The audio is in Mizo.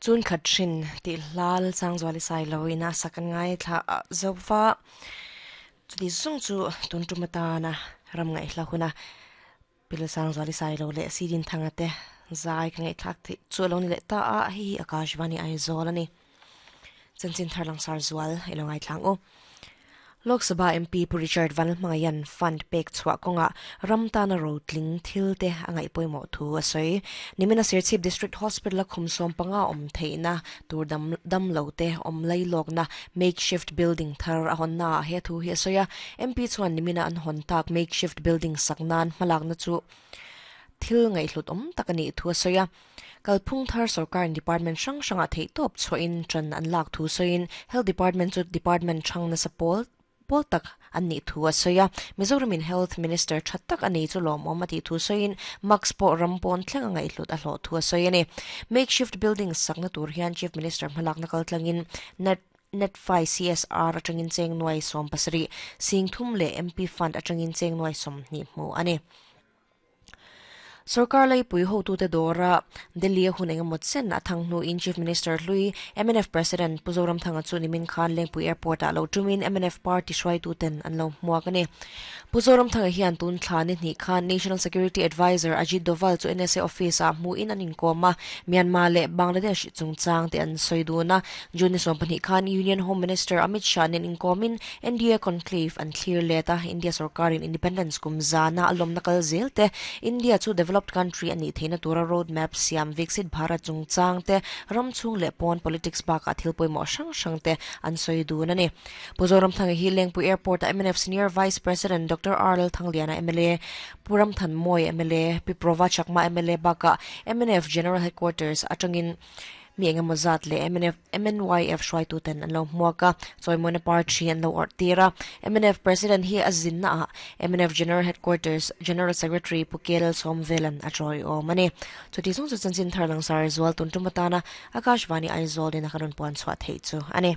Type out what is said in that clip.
Chun khat hrin tih hla Lalsangzuali Sailoin a sak an ngaithla zo va, chuti zung chu tun tum atana ram ngaihhla huna Pi Lalsangzuali Sailo leh Sidinthanga te zai ka ngaihthlak theih chu a lo ni leh ta a, hei hi Akashvani Aizawl a ni. Chanchin thar langsar zual i lo ngaithla ang u. Lok Sabha MP Pu Richard Vanlalhmangaian fund pek chhuah kawngah ram tana rotling thil te a ngaih pawimawh thu a sawi. Nimina Serchhip District Hospital a khum 15 awm theihna tur dam dam lo te awm lailawkna makeshift building thar a hawnna ah he thu hi a sawi a. MP chuan nimina an hawn tak makeshift building sak nan hmalakna chu thil ngaihhlut awm tak a nih thu a sawi a. Kalphung thar sorkarin department hrang hrangah theihtawp chhuahin ṭan an lak thu sawiin Health Department chu department hrang nasa pawl pawl tak an nih thu a sawi a. Mizoramin Health Minister ṭha tak a nei chu lawmawm a tih thu sawiin Mask pawh ram pawn thleng a ngaihhlut a hlawh thu a sawi a ni. Makeshift building sakna tur hian Chief Minister hmalakna kaltlangin Net Netfi CSR atangin cheng nuai 70, 30 leh MP Fund atangin cheng nuai 20 hmu a ni. Sorkar laipui hotute dawra Delhi a hun engemaw chen a thang hnuin Chief Minister hlui mnf President Pu Zoramthanga chu nimin khan Lengpui Airport ah lo tumin mnf party hruaituten an lo hmuak a ni. Pu Zoramthanga hian tun thla ni hnih khan National Security Adviser Ajit Doval chu NSA office ah hmuhin an inkawm a, Myanmar leh Bangladesh chungchang te an sawi dun a. June ni 12 khan Union Home Minister Amit Shah nen inkawmin NDA Conclave an thlir let a, India sorkarin Independence kum zana a lawmna kal zel te, India chu developed country a nih theihna tura road map siam Viksit Bharat chungchang te, ram chhung leh pawn politics bakah thil pawimawh hrang hrang te an sawi dun a ni. Pu Zoramthanga hi Lengpui Airport-a mnf Senior Vice President Doctor R Lalthangliana mla, Pu Ramthanmawia mla, Pi Prova Chakma mla bakah mnf General Headquarters atangin Mi engemaw zat leh mnf, MNYF hruaituten an lo hmuak a, chawimawina party an lo awrh tir a. Mnf President hi a zinna ah mnf General Headquarters General Secretary Pu K Lalsawmvelan a tawiawm a ni. Chuti chung chu chanchin thar langsar zual tun tum atana Akashvani Aizawl in a kan rawn puan chhuah theih chu a ni.